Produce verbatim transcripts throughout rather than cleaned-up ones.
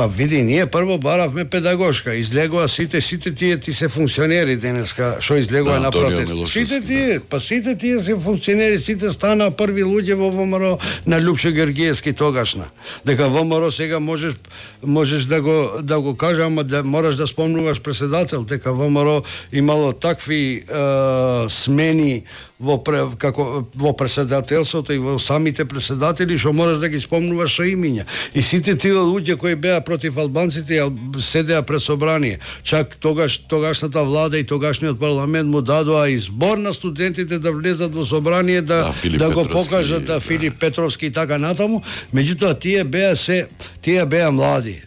Па види, ние прво баравме педагошка, излегува сите, сите тие ти се функционери денеска, што излегува да, на протест. Сите тие, да. Па сите тие се функционери, сите стана први луѓе во ВМРО на Лјупшо Георгиевски тогашна. Дека ВМРО сега можеш можеш да го да го кажа, ама да мораш да спомнуваш председател, дека ВМРО имало такви е, смени во како во председателството и во самите председатели што можеш да ги спомнуваш со имиња. И сите тие луѓе кои беа против албанците седеа пред собрание. Чак тогаш тогашната влада и тогашниот парламент му дадоа избор на студентите да влезат во собрание да да, да го покажат да, да Филип Петровски и така натаму. Меѓутоа тие беа се тие беа млади.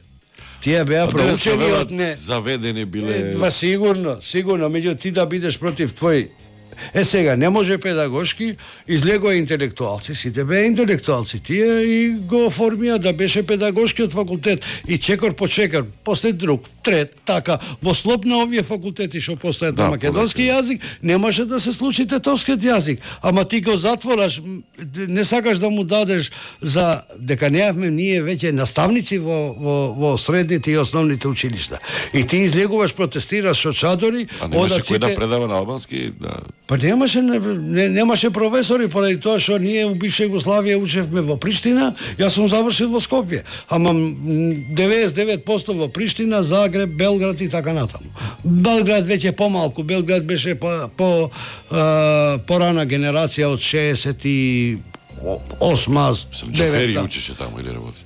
Тие беа проучени од не заведени биле. Па сигурно, сигурно, меѓу ти да бидеш против твој. Е сега, не може педагошки, излегоа интелектуалци, сите беа интелектуалци, тие и го оформија да беше педагошкиот факултет и чекор по чекор, после друг, трет, така, во слоб на овие факултети што постојат да, на македонски јазик, немаше да се случи тетовскиот јазик, ама ти го затвораш, не сакаш да му дадеш за дека неавме ние веќе наставници во, во, во средните и основните училишта. И ти излегуваш, протестираш со чадори, а немаше кој да предава на албански, да. Па немаше не, немаше професори поради тоа што ние у бивша Југославија учевме во Приштина, јас сум завршил во Скопје, ама деветдесет и девет проценти во Приштина, Загреб, Белград и така натаму. Белград веќе помалку, Белград беше по по а, порана генерација од шеесет и осма, Джафери учеше таму или работи?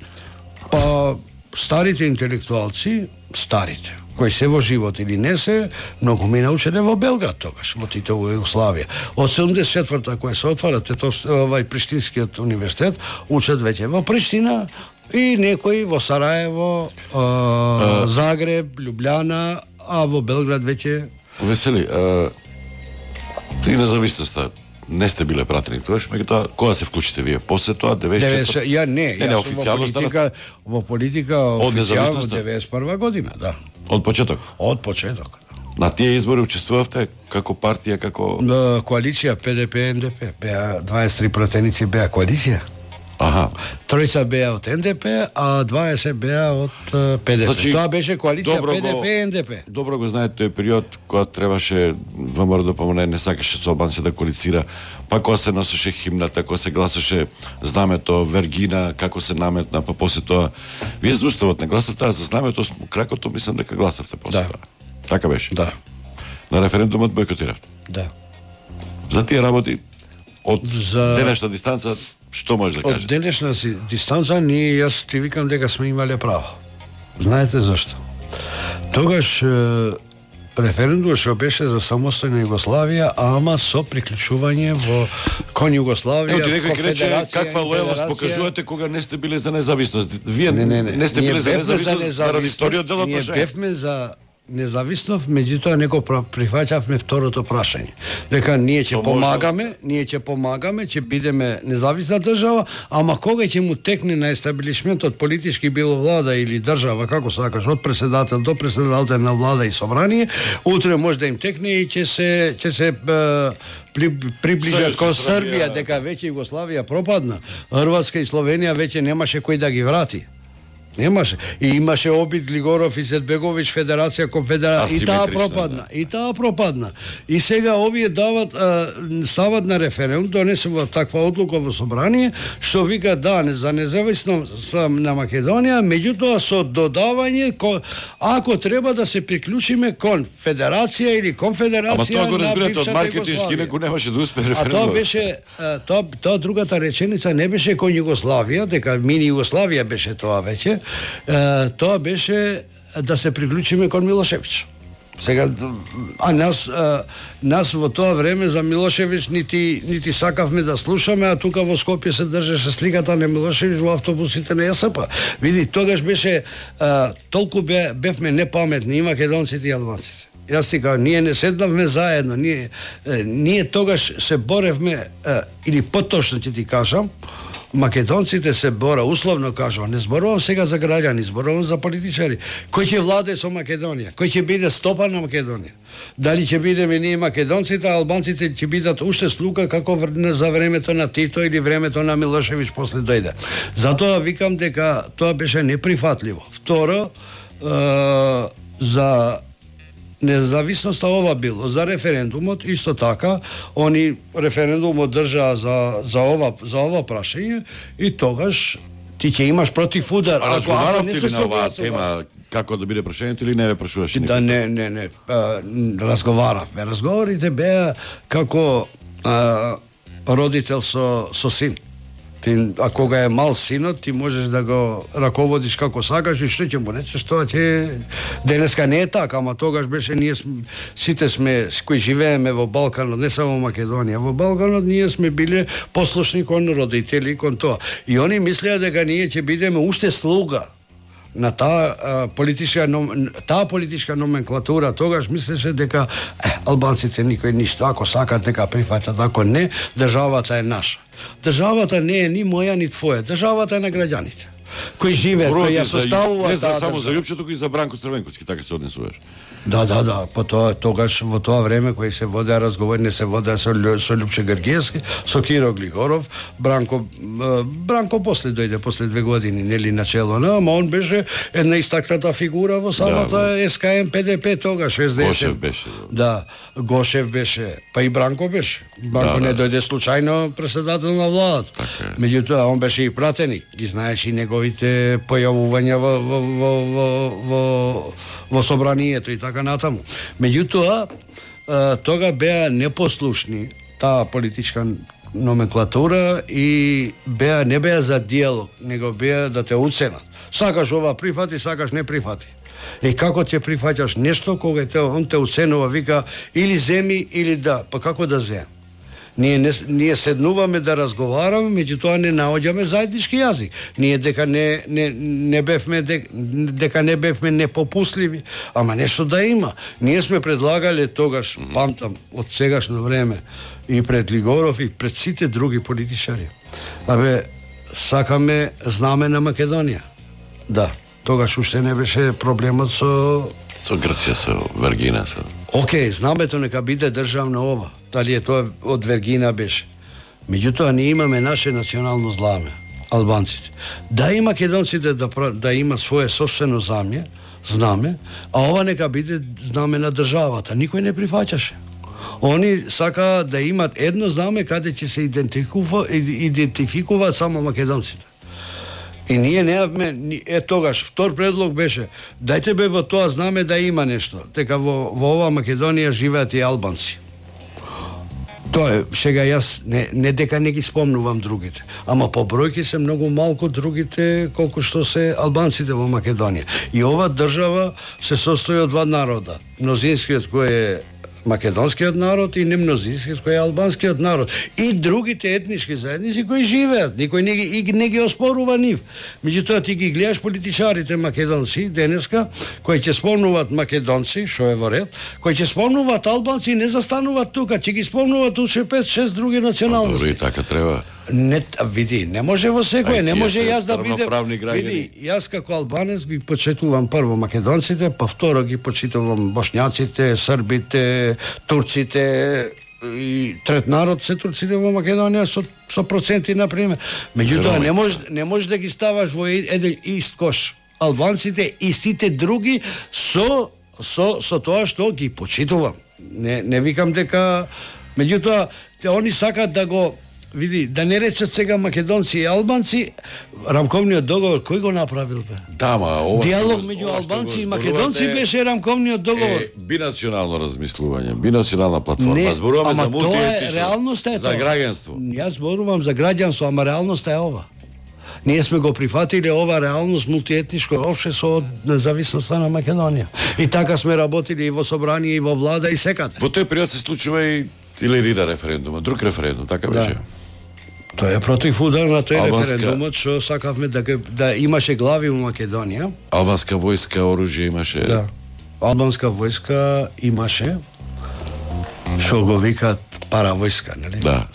Па старите интелектуалци, старите кои се во живот или не се, многу ми научеле во Белград тогаш, во Титова Југославија. Од седумдесет и четврта која се отвара Тетов, овај Приштинскиот универзитет, учат веќе во Приштина и некои во Сараево, а, а, Загреб, Лјубљана, а во Белград веќе. Весели, а, и независноста не сте биле пратени тогаш, меѓутоа кога се вклучите вие? После тоа деветдесет и четврта? Ја не, не, јас сум во политика, во политика официјално деветдесет и прва година, да. Од почеток? Од почеток. На тие избори учествувавте како партија, како на коалиција Пе Де Пе Ен Де Пе, беа дваесет и три пратеници беа коалиција. Аха. Тројца беа од Ен Де Пе, а дваесет беа од Пе Де Пе. Значи, тоа беше коалиција Пе Де Пе Ен Де Пе. Добро го знаете тој период кога требаше ВМРО да помогне, не сакаше со албанци да коалицира, па кога се носеше химната, кога се гласаше знамето Вергина, како се наметна, па после тоа вие за уставот не гласавте, а за знамето кракото мислам дека гласавте после да. тоа. Така беше? Да. На референдумот бойкотиравте? Да. За тие работи од за... денешна дистанца што може да кажете? Од денешна дистанца ние, јас ти викам дека сме имале право. Знаете зашто? Тогаш референдумот што беше за самостојна Југославија, ама со приклучување во кон Југославија. Ево ти некој ќе рече каква лојалност покажувате кога не сте биле за независност. Вие не, не, не. не сте биле за независност заради вториот дел од прашање. Ние бевме за независност, меѓутоа некој прифаќавме второто прашање. Дека ние ќе помагаме, ние ќе помагаме, ќе бидеме независна држава, ама кога ќе му текне на естаблишментот политички било влада или држава, како сакаш, од председател до председател на влада и собрание, утре може да им текне и ќе се ќе се при, приближат кон Србија, дека веќе Југославија пропадна, Хрватска и Словенија веќе немаше кој да ги врати. Немаше. И имаше обид Глигоров и Зетбегович, Федерација, Конфедерација. И таа пропадна. Да. И таа пропадна. И сега овие дават, а, стават на референдум, донесува таква одлука во собрание, што вика да, за независност на Македонија, меѓутоа со додавање, ако треба да се приклучиме кон Федерација или Конфедерација на бившата Југославија. Од маркетиншки некој немаше да успее референдум. А тоа беше, тоа, тоа другата реченица не беше кон Југославија, дека мини Југославија беше тоа веќе. Uh, тоа беше да се приклучиме кон Милошевиќ. Сега, а нас, uh, нас во тоа време за Милошевиќ нити, нити сакавме да слушаме, а тука во Скопје се држеше сликата на Милошевиќ во автобусите на Ја С П. Види, тогаш беше, uh, толку бе, бевме непаметни и македонците и албанците. Јас ти кажам, ние не седнавме заедно, ние, ние тогаш се боревме, uh, или поточно ќе ти кажам, македонците се бора, условно кажувам, не зборувам сега за граѓани, зборувам за политичари. Кој ќе владе со Македонија? Кој ќе биде стопан на Македонија? Дали ќе бидеме ние македонците, а албанците ќе бидат уште слуга како за времето на Тито или времето на Милошевиќ после дојде. Затоа викам дека тоа беше неприфатливо. Второ, е, за независноста ова било, за референдумот исто така, они референдумот држаа за за ова за ова прашање и тогаш ти ќе имаш против удар. А разговаравте ли на оваа тема како да биде прашањето или не ве прашуваше никој? Да, не, не, не, а, разговаравме. Разговорите беа како а, родител со со син. Ти, а кога е мал синот, ти можеш да го раководиш како сакаш и што ќе му речеш, тоа ќе... Денеска не е така, ама тогаш беше, ние сме, сите сме, кои живееме во Балканот, не само Македонија, во Балканот ние сме биле послушни кон родители, кон тоа. И они мислеа дека ние ќе бидеме уште слуга на таа политичка таа политичка номенклатура. Тогаш мислеше дека е, албанците никој ништо, ако сакат нека прифаќат, ако не, државата е наша. Државата не е ни моја ни твоја, државата е на граѓаните кои живеат, кои ја составуваат. Не за само за Јупче, туку и за Бранко Црвенковски, така се однесуваш. Да, да, да, по тоа тогаш во тоа време кои се водеа разговори, не се водеа со, со Љупче Гергиевски, со Киро Глигоров, Бранко Бранко после дојде после две години, нели начело, но ама он беше една истакната фигура во самата да, Ес Ка Ем Пе Де Пе тогаш, Ес Де Ес. Гошев беше. Да, Гошев беше, па и Бранко беше. Бранко да, не дојде случајно председател на владата. Така. Меѓутоа он беше и пратеник, ги знаеше и неговите појавувања во во во во, во, во собранието и така натаму. Меѓутоа, тога беа непослушни таа политичка номенклатура и беа не беа за диалог, него беа да те уценат. Сакаш ова прифати, сакаш не прифати. И како ќе прифаќаш нешто кога те он те уценува, вика или земи или да, па како да земам? Ние не, ние седнуваме да разговараме, меѓутоа не наоѓаме заеднички јазик. Ние дека не не не бевме дека, дека не бевме непопусливи, ама нешто да има. Ние сме предлагале тогаш, памтам, од сегашно време и пред Лигоров и пред сите други политичари. Абе, сакаме знаме на Македонија. Да, тогаш уште не беше проблемот со со Грција, со Вергина, со... Океј, знамето нека биде државно ова. Дали е тоа од Вергина беше. Меѓутоа, ние имаме наше национално знаме, албанците. Да и македонците да, да има свое собствено знаме, знаме, а ова нека биде знаме на државата. Никој не прифаќаше. Они сака да имат едно знаме каде ќе се идентификува, идентификуваат само македонците. И ние неавме, е тогаш, втор предлог беше, дајте бе во тоа знаме да има нешто, дека во, во ова Македонија живеат и албанци. Тоа е, сега јас, не, не дека не ги спомнувам другите, ама по бројки се многу малку другите, колку што се албанците во Македонија. И ова држава се состои од два народа, мнозинскиот кој е македонскиот народ и немнозинскиот кој е албанскиот народ и другите етнички заедници кои живеат, никој не ги не ги оспорува нив. Меѓутоа ти ги гледаш политичарите македонци денеска кои ќе спомнуваат македонци, што е во ред, кои ќе спомнуваат албанци и не застануваат тука, ќе ги спомнуваат уште пет-шест други националности. Добро, и така треба. Не, види, не може во секој, не може јас да бидам. Види, јас како албанец ги почитувам прво македонците, па второ ги почитувам бошњаците, србите, турците и трет народ се турците во Македонија со со проценти на пример. Меѓутоа не може не може да ги ставаш во еден ист кош. Албанците и сите други со со со тоа што ги почитувам. Не не викам дека меѓутоа те они сакаат да го види, да не речат сега македонци и албанци, рамковниот договор кој го направил бе? Да, ма ова диалог меѓу албанци и македонци беше рамковниот договор. Е, бинационално размислување, бинационална платформа. Зборуваме за мултиетничност, за граѓанство. Јас зборувам за граѓанство, ама реалноста е ова. Ние сме го прифатиле ова реалност мултиетничко општество од независноста на Македонија. И така сме работили и во собрание и во влада и секаде. Во тој период се случува и Илирида референдум, друг референдум, така беше. Да. Тоа е против удар на тој Албанска... референдумот што сакавме да, да имаше глави во Македонија. Албанска војска, оружје имаше. Да. Албанска војска имаше што го викаат паравојска, нели? Да.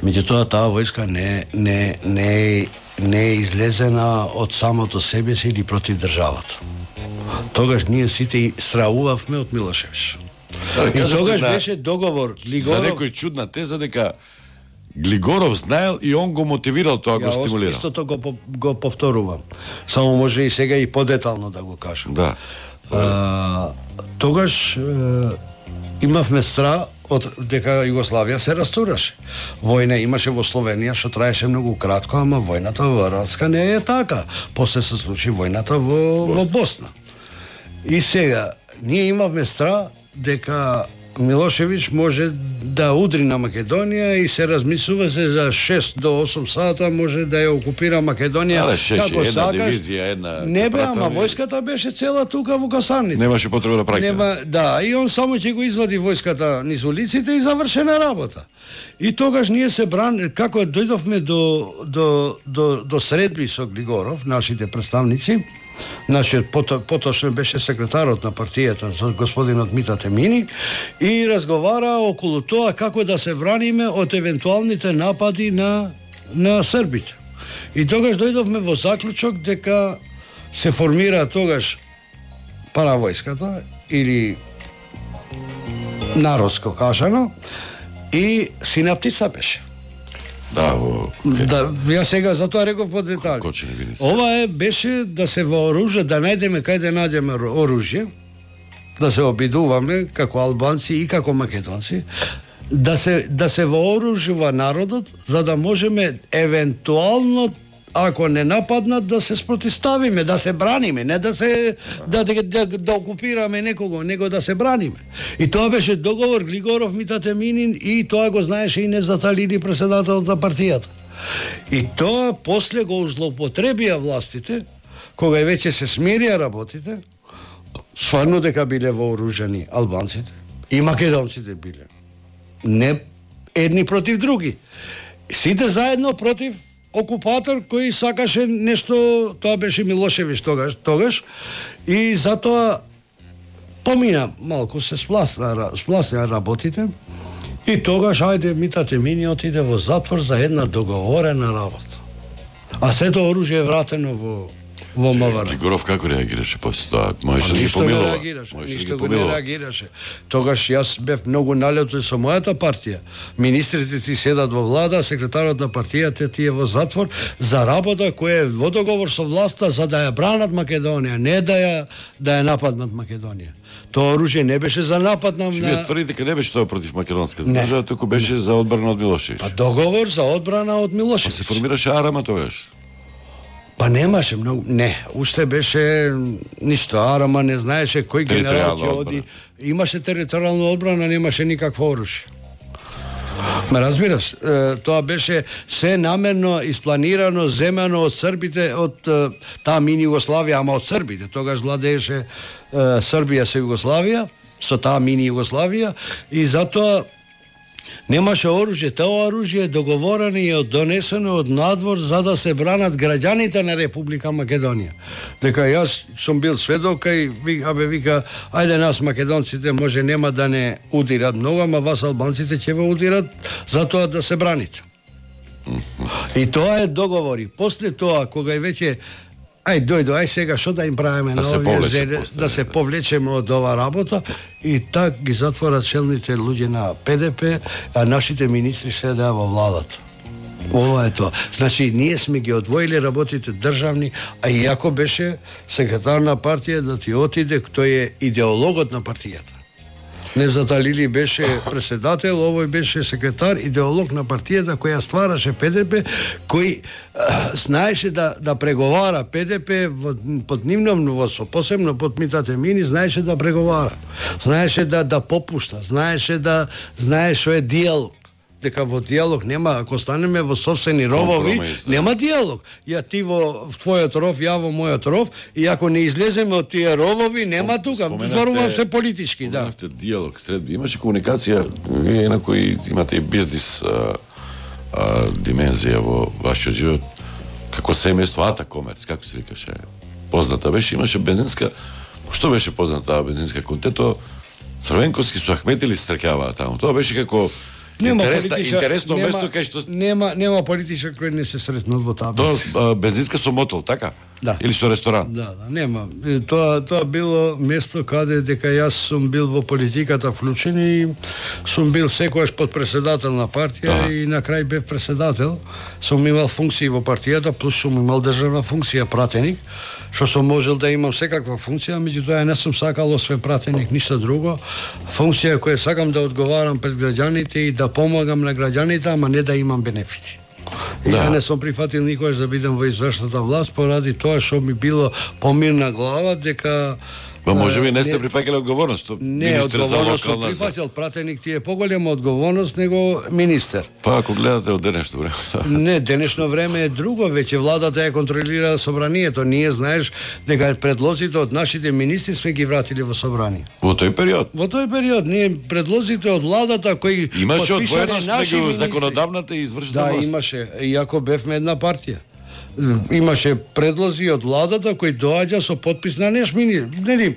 Меѓутоа таа војска не не не не е излезена од самото себе си или против државата. Тогаш ние сите страувавме од Милошевич. И тогаш беше договор Глигоров. За некој чудна теза дека Глигоров знаел и он го мотивирал, тоа го стимулирал. Истото го го повторувам. Само може и сега и подетално да го кажам. Да. А, тогаш е, имавме страх од дека Југославија се растураше. Војна имаше во Словенија што траеше многу кратко, ама војната во Hrvatska не е така. После се случи војната во, во Босна. И сега ние имавме страх дека Милошевич може да удри на Македонија и се размислува се за шест до осум сата може да ја окупира Македонија. Але шеше, како една сакаш. Дивизија, една... Не бе, ама војската беше цела тука во касарница. Немаше потреба да праќа. Нема, да, и он само ќе го извади војската низ улиците и завршена работа. И тогаш ние се бран, како дојдовме до до до до средби со Глигоров, нашите представници. Нашиот пото, поточно беше секретарот на партијата, господинот Мита Темини, и разговара околу тоа како да се браниме од евентуалните напади на на србите. И тогаш дојдовме во заклучок дека се формира тогаш паравојската или народско кажано и синаптица беше. Да, во... Okay. Да, ја сега затоа реков по детали. Ова е беше да се вооружа, да најдеме кај да најдеме оружје, да се обидуваме како албанци и како македонци, да се да се вооружува народот за да можеме евентуално ако не нападнат да се спротиставиме, да се браниме, не да се да да, да, да окупираме некого, него да се браниме. И тоа беше договор Глигоров, Мита Теминин и тоа го знаеше и Невзат Алили, председателот на партијата. И тоа после го злоупотребија властите, кога веќе се смирија работите, стварно дека биле вооружени албанците и македонците биле. Не едни против други. Сите заедно против окупатор кој сакаше нешто, тоа беше Милошевич тогаш, тогаш и затоа помина малку се спласна, спласна работите и тогаш ајде Мита Темини отиде во затвор за една договорена работа. А сето оружје е вратено во во МВР. Глигоров како реагираше после тоа? Можеше да ги помилува. Ништо го не реагираше. Тогаш јас бев многу налетен со мојата партија. Министрите си седат во влада, секретарот на партијата ти е во затвор за работа која е во договор со власта за да ја бранат Македонија, не да ја да ја нападнат Македонија. Тоа оружје не беше за напад на... Вие тврдите дека не беше тоа против македонската држава, туку беше за одбрана од Милошевич. Па договор за одбрана од Милошевич. Па се формираше Арама тогаш. Па немаше многу, не, уште беше ништо, Арама не знаеше кој генерал ќе оди. Имаше територијална одбрана, немаше никакво оружје. Ме разбираш, тоа беше се намерно испланирано, земено од србите, од таа мини Југославија, ама од србите. Тогаш владееше Србија со Југославија, со таа мини Југославија, и затоа немаше оружје. Тоа оружје е договорено и е донесено од надвор за да се бранат граѓаните на Република Македонија. Дека јас сум бил сведок и абе вика, ајде нас македонците може нема да не удират многу, ама вас албанците ќе ве удират затоа да се браните. И тоа е договори. После тоа кога е веќе ај дојдо, ај сега што да им правиме да на овие, да се повлечеме од ова работа, и так ги затворат челните луѓе на ПДП, а нашите министри седеа во владата. Ова е тоа. Значи, ние сме ги одвоили работите државни, а иако беше секретар на партија да ти отиде, тој е идеологот на партијата. Невзат Алили беше председател, овој беше секретар, идеолог на партијата која ствараше ПДП, кој а, знаеше да да преговара ПДП во, под нивно мнозинство, посебно под Мита Темини, знаеше да преговара. Знаеше да да попушта, знаеше да знае што е диалог. Дека во диалог нема, ако станеме во собствени ровови, нема диалог. Ја ти во твојот ров, ја во мојот ров, и ако не излеземе од тие ровови, нема тука. Зборувам се политички, да. Споменавте диалог, средби. Имаше комуникација, вие на кои имате и бизнис а, а, димензија во вашиот живот, како семејство Ата Комерц, како се викаше, позната беше, имаше бензинска, што беше позната бензинска контето, Црвенковски со Ахметили се стркјаваа таму. Тоа беше како Нема Интересна, политичар, интересно нема, место кај што нема нема политичар кој не се сретнал во таа тоа бензинска. а, бензинска со мотел, така? Да. Или со ресторан? Да, да, нема. Е, Тоа тоа било место каде дека јас сум бил во политиката вклучен и сум бил секогаш подпредседател на партија Да. и на крај бев председател. Сум имал функции во партијата, плюс сум имал државна функција пратеник, што сум можел да имам секаква функција, меѓутоа ја не сум сакал освен пратеник ништо друго. Функција која сакам да одговарам пред граѓаните и да помагам на граѓаните, ама не да имам бенефити. И Да. да. не сум прифатил никогаш да бидам во извршната власт поради тоа што ми било помирна глава дека Па може би не сте не- прифаќале одговорност. не Министер за одговорност сум локална за- прифатил, пратеник ти е поголема одговорност него министер. Па ако гледате од денешно време. Не, денешно време е друго, веќе владата ја контролира собранието. Ние знаеш дека предлозите од нашите министри сме ги вратили во собрание. Во тој период Во тој период ние предлозите од владата кои имаше потпишале одвоеност наши меѓу министри. законодавната и извршната Да, власт. имаше, иако бевме една партија. Имаше предлози од владата кои доаѓа со подпис на неш мини, нели?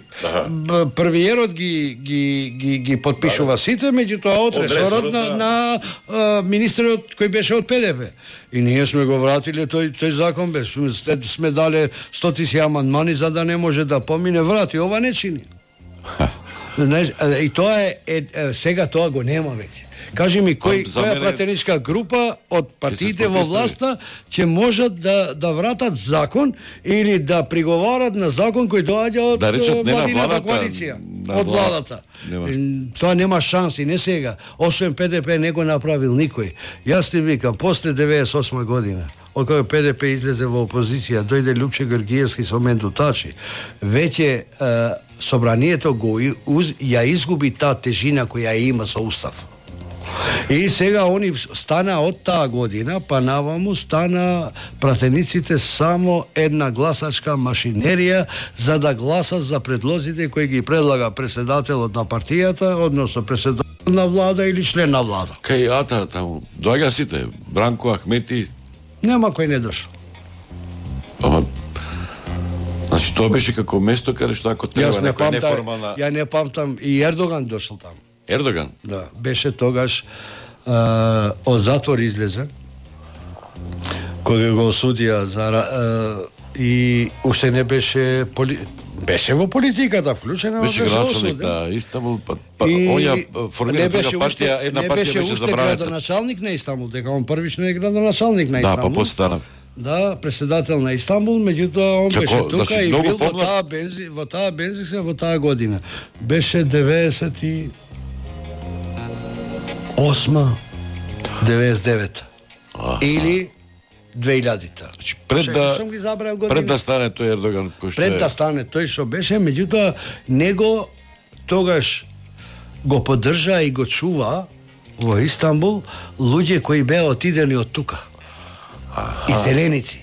б- Првиерот ги ги ги ги потпишува сите, меѓутоа од Од ресорот ресорот, на, да. на а, министерот кој беше од П Д П. И ние сме го вратиле тој тој закон без сме, сме дале стотици амандмани за да не може да помине, врати, ова не чини. Знаеш, а, и тоа е, е, е сега тоа го нема веќе. Кажи ми кој Па, за која мене- пратеничка група од партиите во спопистави. власта ќе можат да да вратат закон или да приговарат на закон кој доаѓа од Да речат, не на владината владата, коалиција, на од владата. владата. Нема. И Тоа нема шанси, не сега. Освен П Д П не го направил никој. Јас ти викам, после деветдесет и осма година, од кога П Д П излезе во опозиција, дојде Лјупче Георгиевски со Менду Тачи, веќе е, собранието го и- уз, ја изгуби таа тежина која ја има со устав. И сега они стана од таа година, па наваму стана пратениците само една гласачка машинерија за да гласат за предлозите кои ги предлага председателот на партијата, односно председател на влада или член на влада. Кај Ата таму доаѓа сите, Бранко Ахмети, Нема кој не дошол. ама значи тоа беше како место каде што ако треба Јас не некоја памтам, неформална ја не памтам и Ердоган дошол таму. Ердоган. Да, беше тогаш а, од затвор излезе кога го осудија за а, и уште не беше поли... беше во политиката вклучена, Беше беше градоначалник осуден. на Истанбул, па, па И оња формира не беше друга уште- партија, една не партија беше беше уште забранета. градоначалник на Истанбул, дека он првично е градоначалник на Да, Истанбул. па после стана. Да, председател на Истанбул, меѓутоа он Како, беше тука значи, и многу бил во помлад? таа бензи, во таа бензинска во таа година. Беше деветдесет и осма, деветдесет и девета. Или две илјадите. Значи, пред Чекај, да сум ги забрал години. пред да стане тој Ердоган кој што Пред да е стане тој што беше, меѓутоа него тогаш го поддржа и го чува во Истанбул луѓе кои беа отидени од тука. Иселеници.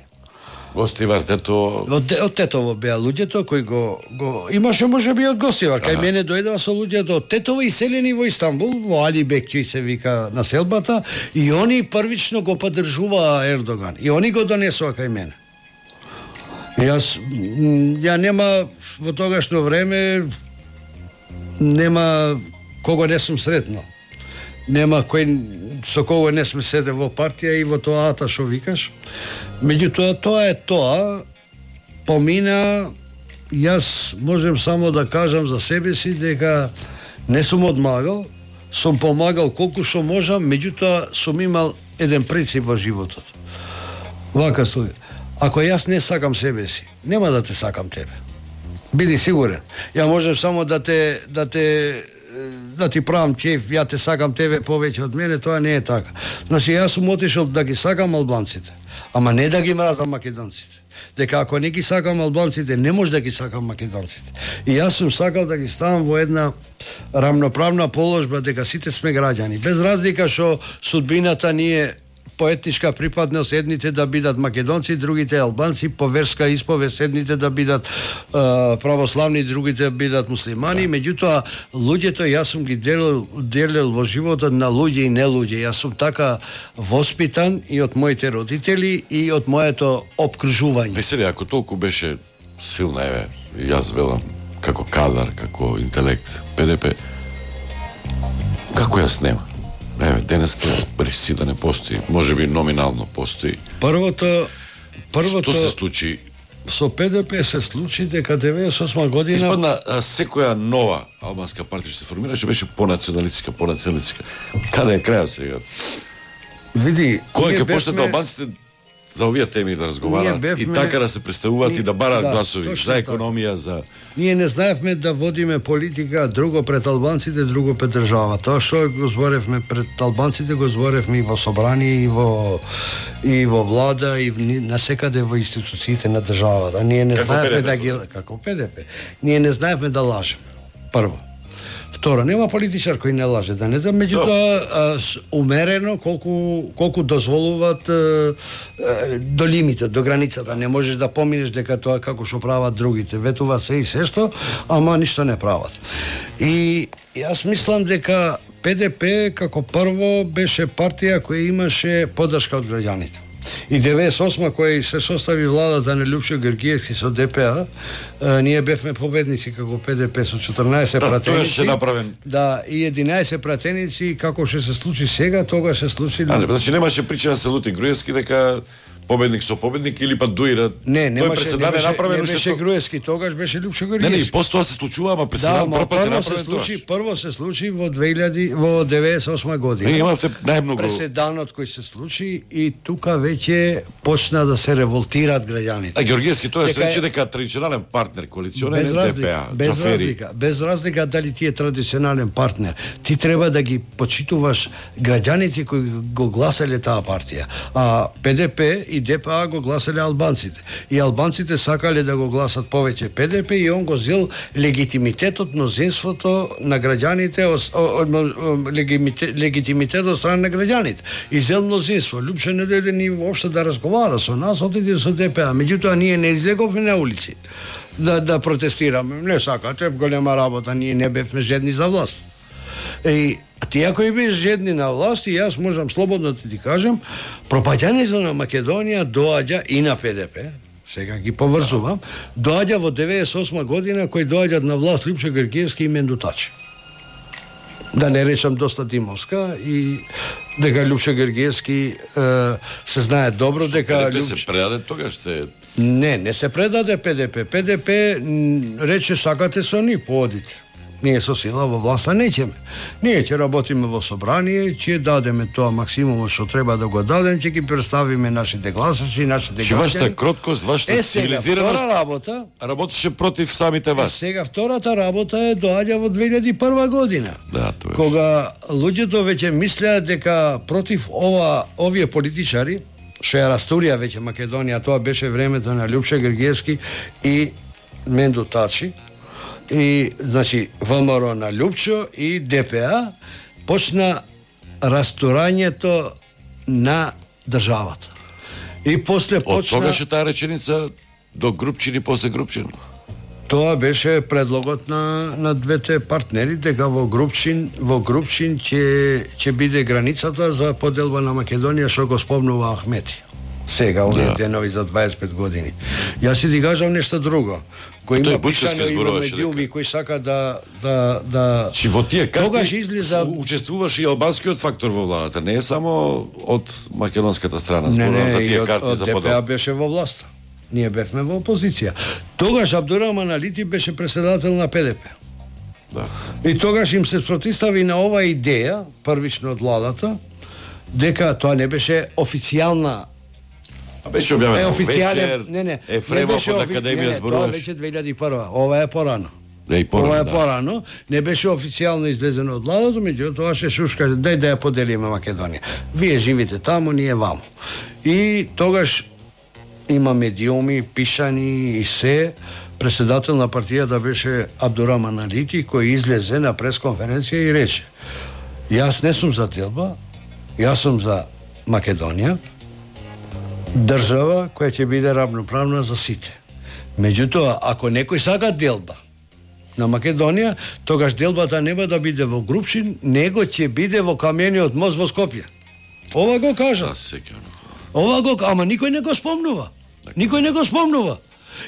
Гостивар тето Од, од Тетово беа луѓето кои го, го имаше можеби од Гостивар. Кај мене дојдоа со луѓето од Тетово иселени во Истанбул, во Али Бекчи се вика населбата, и они првично го поддржуваа Ердоган. И они го донесоа кај мене. И Јас м, ја нема во тогашно време нема кого не сум сретнал. Нема кој со кого не сме седе во партија и во тоа ата што викаш. Меѓутоа тоа е тоа. Помина, јас можем само да кажам за себе си дека не сум одмагал, сум помагал колку што можам, меѓутоа сум имал еден принцип во животот. Вака стои. Ако јас не сакам себе си, нема да те сакам тебе. Биди сигурен. Ја можам само да те да те да ти правам чеф, ја те сакам тебе повеќе од мене, тоа не е така. Значи јас сум отишол да ги сакам албанците, ама не да ги мразам македонците. Дека ако не ги сакам албанците, не може да ги сакам македонците. И јас сум сакал да ги ставам во една рамноправна положба, дека сите сме граѓани, без разлика што судбината ни е по етничка припадност, едните да бидат македонци, другите албанци, по верска исповест, едните да бидат е, православни, другите да бидат муслимани, меѓутоа луѓето јас сум ги делил, делил во животот на луѓе и не луѓе. Јас сум така воспитан и од моите родители и од моето опкружување. Весели, ако толку беше силна, еве, јас велам, како кадар, како интелект, П Д П, како јас нема? Не, денеска рисци да не постои, може би номинално постои. Првото првото Што се случи? Со Пе Де Пе се случи дека деветдесет и осма година Испадна а, секоја нова албанска партија што се формираше беше понационалистичка, понационалистичка. Каде е крајот сега? Види, Кој ќе бевме... почнат албанците за овие теми да разговараат бевме... и така да се представуваат Ние... и да бараат да, гласови за економија, така. за Ние не знаевме да водиме политика друго пред албанците, друго пред држава. Тоа што го зборевме пред албанците, го зборевме и во собрание, и во и во влада, и насекаде во институциите на државата. Ние не како знаевме Пе Де Пе, да ги како Пе Де Пе. Ние не знаевме да лажеме. Прво. Второ, нема политичар кој не лаже, да не да, меѓутоа умерено колку колку дозволуваат а, а, до лимитот, до границата, не можеш да поминеш дека тоа како што прават другите, ветува се и се што, ама ништо не прават. И јас мислам дека Пе Де Пе како прво беше партија која имаше поддршка од граѓаните. И деветдесет и осма кој се состави владата на Лјупчо Георгиевски со Де Пе А, а, ние бевме победници како Пе Де Пе со четрнаесет да, пратеници. направен. Да, и единаесет пратеници, како што се случи сега, тогаш се случи. А, не, значи немаше причина да се лути Груевски дека победник со победник или па дуира. Не, немаше, преседан не беше, направен, не беше Груевски, тогаш беше Лјупчо Георгиевски. Не, не, и после се случува, ама преседан да, прв пат е прво се направен случи, тоа. прво се случи во две илјади во деветдесет и осма година. Не, има се најмногу преседанот кој се случи и тука веќе почна да се револтираат граѓаните. А Георгиевски тоа Дека се рече дека традиционален партнер коалиционен без е разлика, Де Пе А, без Џафери. разлика, без разлика дали ти е традиционален партнер. Ти треба да ги почитуваш граѓаните кои го гласале таа партија. А Пе Де Пе и Де Пе А го гласале албанците. И албанците сакале да го гласат повеќе Пе Де Пе и он го зел легитимитетот, мнозинството на граѓаните, легитимитет од страна на граѓаните. И зел мнозинство. Лјупчо не дојде ни воопшто да разговара со нас, отиде со Де Пе А. Меѓутоа ние не излеговме на улици да да протестираме. Не сакате голема работа, ние не бевме жедни за власт. И ти ако и биш жедни на власт, и јас можам слободно да ти кажам, пропаѓањето на Македонија доаѓа и на Пе Де Пе, сега ги поврзувам, доаѓа во деветдесет и осма година кој доаѓаат на власт Лјупчо Георгиевски и Мендутачи. Да не речам доста Димовска и дека Лјупчо Георгиевски е, се знае добро Што дека Пе Де Пе Лјупчо... се предаде тогаш се Не, не се предаде Пе Де Пе. Пе Де Пе рече сакате со ни, поодите. Ние со сила во власта неќеме. Ние ќе работиме во собрание, ќе дадеме тоа максимумот што треба да го дадеме, ќе ги представиме нашите гласачи, нашите Че вашата граѓани. кроткост, вашата Е, сега, втора цивилизираност работа, работеше против самите е, вас. сега втората работа е доаѓа во две илјади и прва година. Да, тоа е. Кога луѓето веќе мислеа дека против ова овие политичари што ја растурија веќе Македонија, тоа беше времето на Лјупчо Георгиевски и Мендутачи, и значи Вэ Ем Ер на Лјупчо и Де Пе А, почна растурањето на државата. И после Од почна... тогаш е таа реченица до Групчин и после Групчин. Тоа беше предлогот на на двете партнери дека во Групчин во Групчин ќе ќе биде границата за поделба на Македонија што го спомнува Ахмети. Сега оние Да. денови за дваесет и пет години. Јас си ти кажам нешто друго. Кој тој има Бучевски пишано, има зборуваше медиуми кои сака да да да Чи во тие Тогаш карти излиза учествуваше и албанскиот фактор во владата, не е само од македонската страна, Не, зборувам не, за и тие од, карти од за Де Пе А подел. беше во власт. Ние бевме во опозиција. Тогаш Абдураман Алити беше председател на Пе Де Пе. Да. И тогаш им се спротистави на оваа идеја, првично од владата, дека тоа не беше официјална А беше објавено е во официјален, вечер, не не, Ефремов од офи- Академија не, не, тоа зборуваше. веќе две илјади и прва, ова е порано. Да, и порано, Ова е да. порано, не беше официјално излезено од владата, меѓутоа тоа ше шушка, дај да ја поделиме Македонија. Вие живите таму, ние ваму. И тогаш има медиуми, пишани и се, председател на партијата беше Абдураман Алити, кој излезе на пресконференција и рече: јас не сум за делба, јас сум за Македонија, држава која ќе биде равноправна за сите. Меѓутоа, ако некој сака делба на Македонија, тогаш делбата нема да биде во Групчин, него ќе биде во камениот мост во Скопје. Ова го кажа. Да, сеќавно. Ова го, ама никој не го спомнува. Никој не го спомнува.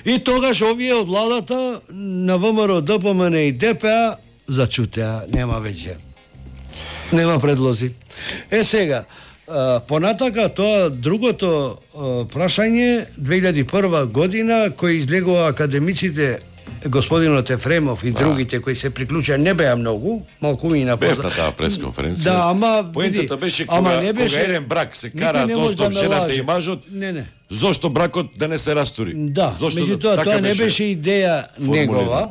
И тогаш овие од владата на ВМРО, Д П М Н и Де Пе А зачутеа, нема веќе. Нема предлози. Е сега, понатака тоа другото прашање две илјади и прва година кој излегува академиците господинот Ефремов и другите кои се приклучија не беа многу, малкумина бев на таа пресконференција. Да, ама поентата беше кога, ама не беше, кога еден брак се кара достап жената и мажот. Не, не. Зошто бракот да не се растури? Да, зошто меѓутоа да, тоа не беше идеја негова.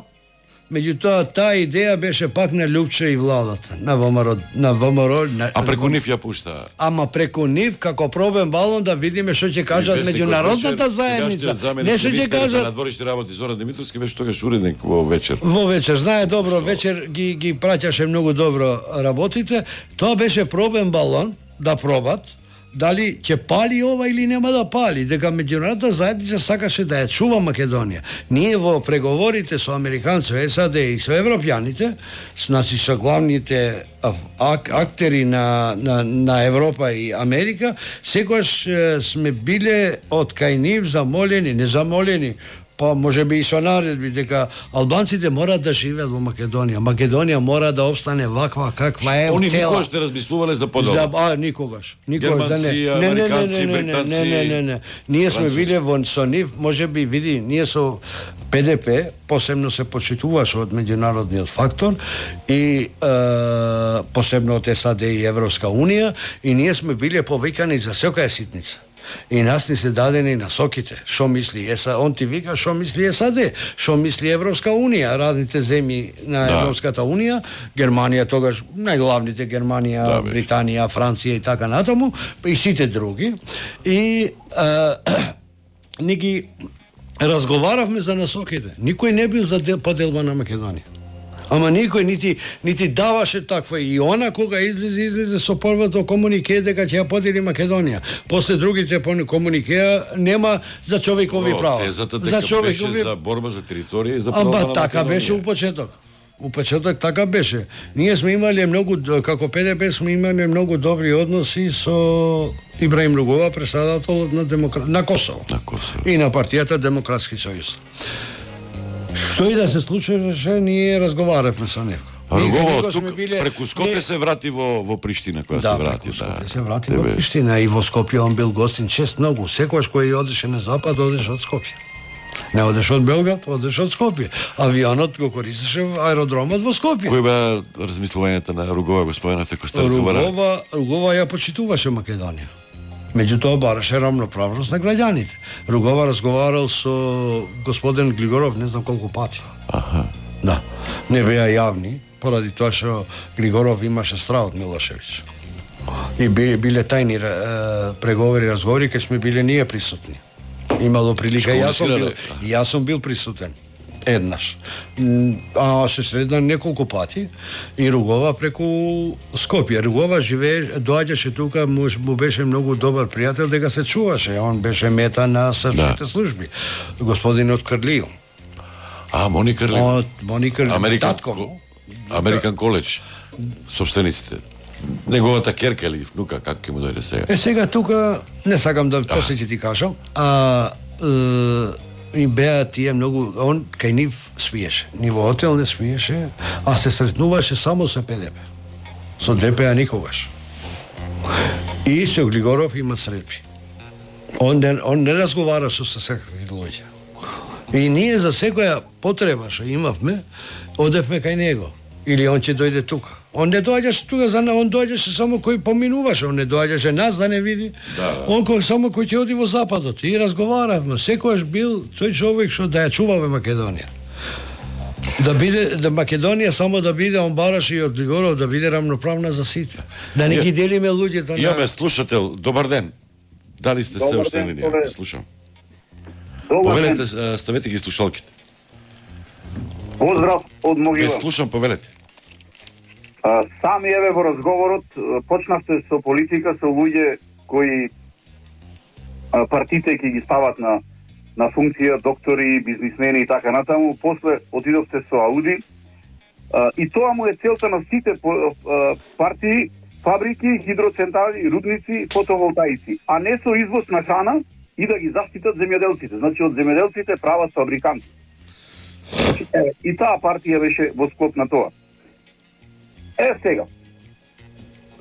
Меѓутоа таа идеја беше пак на Лјупче и владата, на ВМРО, на ВМРО. На... А преку нив ја пушта. Ама преку нив како пробен балон да видиме што ќе кажат меѓународната заедница. Не што ќе кажат на дворишни работи Зоран Димитровски беше тогаш уредник во вечер. Во вечер, знае добро, што? Вечер ги ги праќаше многу добро работите. Тоа беше пробен балон да пробат дали ќе пали ова или нема да пали, дека меѓународната заедница сакаше да ја чува Македонија. Ние во преговорите со американци, САД и со европјаните, значи со главните ак, актери на, на, на Европа и Америка, секогаш сме биле од кај нив замолени, не замолени, па може би и со наредби дека албанците мораат да живеат во Македонија. Македонија мора да опстане ваква каква е. Они никогаш не размислувале за подобро. За, а, никогаш. Никогаш да не. Германци, американци, британци. Не, не, не, не. Ние сме биле во со нив, може би види, ние со П Д П посебно се почитуваше од меѓународниот фактор и е, посебно од САД и Европска унија и ние сме биле повикани за секоја ситница. И нас ни се дадени насоките. Шо мисли ЕСА? Он ти вика шо мисли САД, шо мисли Европска унија, разните земји на да. Европската унија, Германија тогаш, најглавните Германија, да, Британија, Франција и така натаму, и сите други. И а, ни ги разговаравме за насоките. Никој не бил за поделба на Македонија. Ама никој нити нити даваше таква и она кога излезе излезе со првото комунике дека ќе ја подели Македонија. После другите комуникеа нема за човекови права. Тезата дека за човекови беше за борба за територија и за права на Македонија. Ама така беше у почеток. У почеток така беше. Ние сме имале многу, како П Д П сме имале многу добри односи со Ибраим Ругова, председателот на демокра... на Косово. На Косово. И на партијата Демократски сојуз. Што и да се случеше, ние разговаравме со него. Ругова тук биле... преку Скопје не... се врати во во Приштина кога да, се врати, да. Да. се врати во Приштина и во Скопје он бил гостин чест многу. Секогаш кој одеше на запад, одеше од Скопје. Не одеше од Белград, одеше од Скопје. Авионот го користеше аеродромот во Скопје. Кој беа размислувањата на Ругова, господинот кој сте разговарали? Ругова, Ругова ја почитуваше Македонија. Меѓутоа бараше рамноправност на граѓаните. Ругова разговарал со господин Глигоров не знам колку пати. Аха. Да. Не беа јавни, поради тоа што Глигоров имаше страх од Милошевиќ. И биле, биле тајни е, преговори, разговори, кај сме биле ние присутни. Имало прилика, јас сум бил, јас сум бил присутен. Еднаш. А се средна неколку пати и Ругова преку Скопје. Ругова живее, доаѓаше тука, му, му беше многу добар пријател дека се чуваше. Он беше мета на српските да. служби. Господинот Крлио. А, Мони Крлио. Од Мони Крлио. Американ, Американ коледж. Собствениците. Неговата керка или внука, како ќе му дојде сега? Е, сега тука, не сакам да после ќе ти кажам, а е, и беа тие многу, он кај нив свиеше, ни во хотел не свиеше, а се сретнуваше само со П Д П. Со Д П А никогаш. И со Глигоров има средби. Он не, он не разговара со секакви луѓе. И ние за секоја потреба што имавме, одевме кај него. Или он ќе дојде тука. Он не доаѓаше тука за на, он доаѓаше само кој поминуваше, он не доаѓаше нас да не види. Да. Он кој само кој ќе оди во западот и разговаравме. Секојаш бил тој човек што да ја чуваме Македонија. Да биде да Македонија само да биде, он бараше и од Глигоров да биде рамноправна за сите. Да не ги делиме луѓето. Имаме слушател. Добар ден. Дали сте се уште на линија? Слушам. Повелете, ставете ги слушалките. Поздрав од Могила. Ве слушам, повелете. А, сами еве во разговорот почнавте со политика со луѓе кои а, партите ќе ги стават на на функција, доктори, бизнисмени и така натаму, после отидовте со Ауди а, и тоа му е целта на сите а, партии, фабрики, хидроцентрали, рудници, фотоволтаици, а не со извоз на храна и да ги заштитат земјоделците. Значи од земјоделците прават фабриканти. И таа партија беше во склоп на тоа. Е, сега.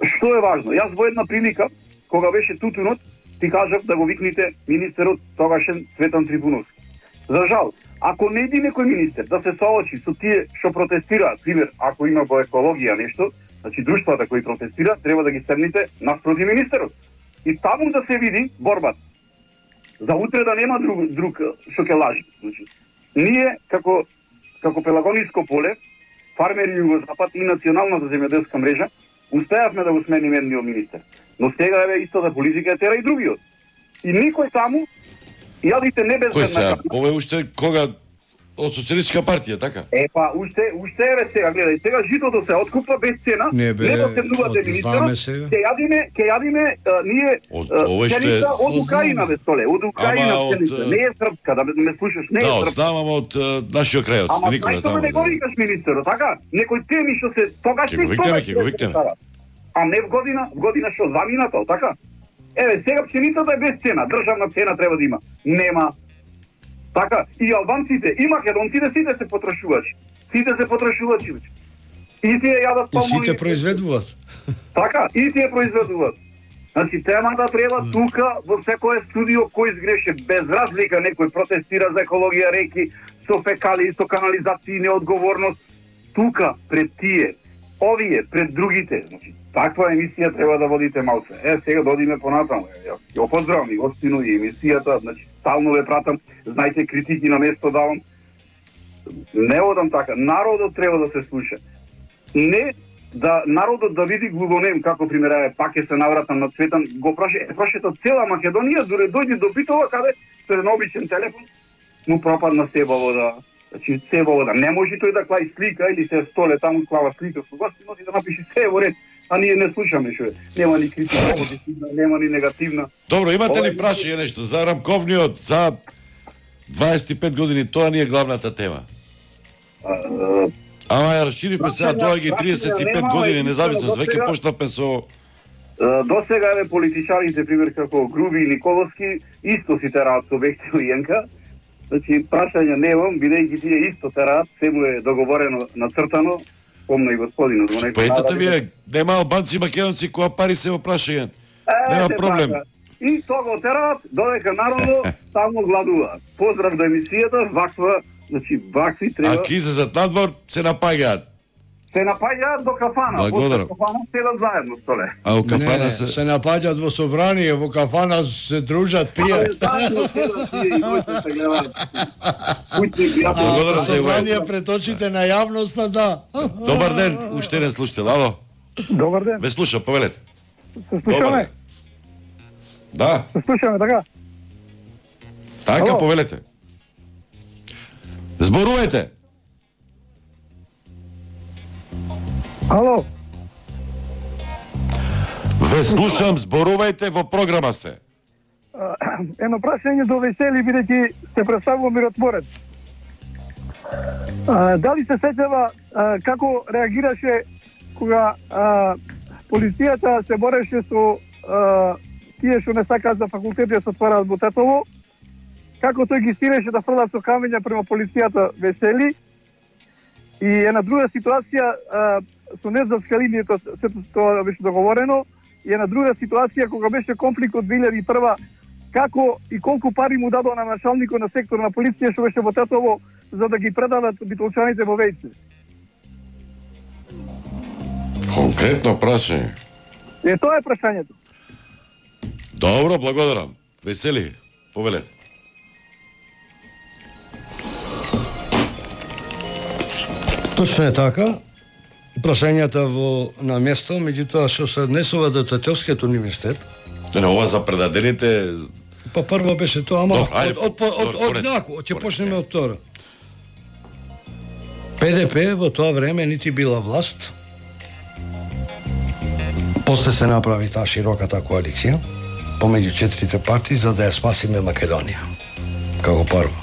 што е важно? Јас во една прилика, кога беше тутунот, ти кажав да го викните министерот тогашен Цветан Трифуновски. За жал, ако не иди некој министер да се соочи со тие што протестираат, пример, ако има во екологија нешто, значи друштвата кои протестираат, треба да ги седните наспроти министерот. И таму да се види борбата. За утре да нема друг, друг што ќе лажи. Значи, ние, како, како Пелагониско поле, фармери Југозапад и националната земјоделска мрежа, успеавме да го смениме едниот министер. Но сега е истата политика тера и другиот. И никој таму, јадите не без Кој сега? Ова е уште кога од социјалистичка партија, така? Е, па, уште, уште е сега, гледај, сега житото се откупва без цена, не бе, не доседнувате министерот, ќе јадиме, ќе јадиме, ние, пшеница од Украина, бе, столе, од Украина пшеница, не е српска, да ме слушаш, не е српска. Да, знам, ама од нашиот крај, од Никола, таму. Ама, не го викаш министерот, така? Некој теми што се, тогаш не стога. Ќе го викнеме, а не в година, в година што заминато, така? Еве, сега пшеницата е без цена, државна цена треба да има. Нема. Така, и албанците, и македонците сите се потрошувачи. Сите се потрошувачи. И тие јадат палмони. И сите произведуваат. Така, и тие произведуваат. Значи, темата треба тука, во секое студио кој изгреше, без разлика, некој протестира за екологија реки, со фекали, со канализација, неодговорност. Тука, пред тие, овие, пред другите. Значи, таква емисија треба да водите малце. Е, сега додиме понатаму. Ја поздравам и гостину и емисијата, значи, стално ве пратам, знајте, критики на место давам. Не одам така. Народот треба да се слуша. Не да народот да види глугонем, како примера пак е се навратам на Цветан, го праше, е прашето цела Македонија, дуре дојде до Битова, каде со еден обичен телефон, му пропадна себа вода. Значи, себа вода. Не може тој да клаи слика или се столе таму клава слика со вас, носи да напише се во ред. А ние не слушаме што е. Нема ни критика позитивна, нема ни негативна. Добро, имате ли прашање нешто за рамковниот за дваесет и пет години, тоа ни е главната тема. А, Ама ја расширивме сега доаѓа триесет и пет години независност, веќе почнавме со до сега еве политичарите пример како Груби и Николовски исто си тераат со Бехтел и Јенка. Значи прашање немам, бидејќи тие исто тераат, се му е договорено, нацртано. Помна и господинот. Поетата ви е, нема албанци и македонци која пари се во прашање. Нема проблем. И тоа го тераат, додека народно само гладуваат. Поздрав до емисијата, ваква, значи вакви треба. А ки излезат надвор, се напаѓаат. Се напаѓаат до кафана. Благодарам. После кафана седат заедно столе. А у кафана не, се... се напаѓаат во собрание, во кафана се дружат, пијат. Благодарам се. Собрание пред очите на јавноста, да. Добар ден, уште еден слушател. Ало. Добар ден. Ве слушам, повелете. Се слушаме? Да. Се слушаме, така? Така, повелете. Зборувајте. Ало. Ве слушам, зборувајте, во програма сте. Едно прашање до Весели, бидејќи се представува миротворец. А, дали се сеќава како реагираше кога а, полицијата се бореше со а, тие што не сакаат за факултети да се отвораат во Тетово, како тој ги стиреше да фрлат со камења према полицијата Весели, и една друга ситуација а, со незаскалинието, сето тоа беше договорено, и една друга ситуација кога беше конфликт од две илјади и прва, како и колку пари му дадоа на началникот на сектор на полиција што беше во Тетово за да ги предадат битолчаните во Вејце. Конкретно прашање. Е, тоа е прашањето. Добро, благодарам. Весели, повелете. Точно е така. Прашањата во на место, меѓутоа што се однесува до Тетовскиот универзитет. Не, ова за предадените. Па прво беше тоа, ама Добро, ајде, од од од од нако, ќе почнеме од второ. Пе Де Пе во тоа време нити била власт. После се направи таа широката коалиција помеѓу четирите партии за да ја спасиме Македонија. Како прво.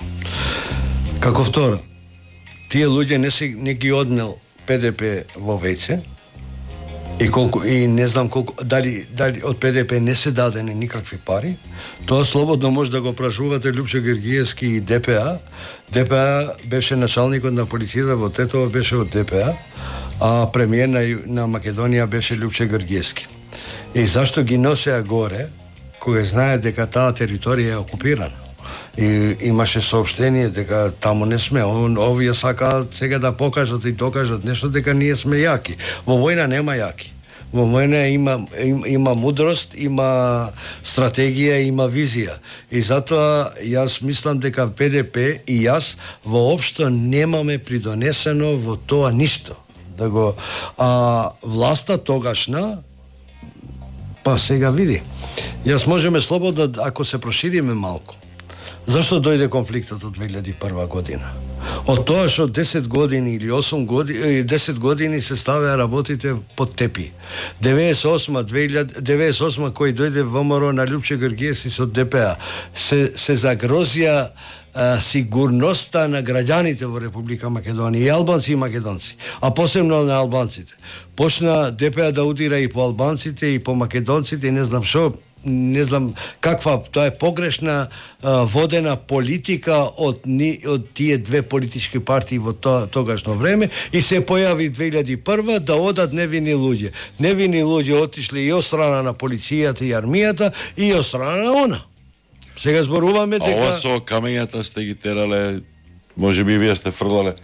Како второ, тие луѓе не се не ги однел Пе Де Пе во Вејце и колку и не знам колку дали дали од Пе Де Пе не се дадени никакви пари. Тоа слободно може да го прашувате Лјупчо Гергиевски и Де Пе А. Де Пе А беше началникот на полицијата во Тетово, беше од Де Пе А. а премиер на, на Македонија беше Лјупче Георгиевски. И зашто ги носеа горе, кога знае дека таа територија е окупирана? И имаше сообщение дека таму не сме. Овие сакаат сега да покажат и докажат нешто дека ние сме јаки. Во војна нема јаки. Во војна има, има, има мудрост, има стратегија, има визија. И затоа јас мислам дека Пе Де Пе и јас воопшто немаме придонесено во тоа ништо. Да го, а власта тогашна, па сега види. Јас можеме слободно, ако се прошириме малку. Зашто дојде конфликтот од две илјади и прва година? Од тоа што десет години или осум години, десет години се ставеа работите под тепи. деветдесет и осма, деветдесет и осма кој дојде во ВМРО на Лјупче Георгиевски со Де Пе А, се, се загрозија а, сигурноста на граѓаните во Република Македонија, и албанци и македонци, а посебно на албанците. Почна Де Пе А да удира и по албанците и по македонците и не знам што, не знам каква, тоа е погрешна а, водена политика од ни, од тие две политички партии во тоа тогашно време, и се појави две илјади и прва да одат невини луѓе. Невини луѓе отишли и од страна на полицијата и армијата и од страна на она. Сега зборуваме дека... А ова со камењата сте ги терале, може би вие сте фрлале?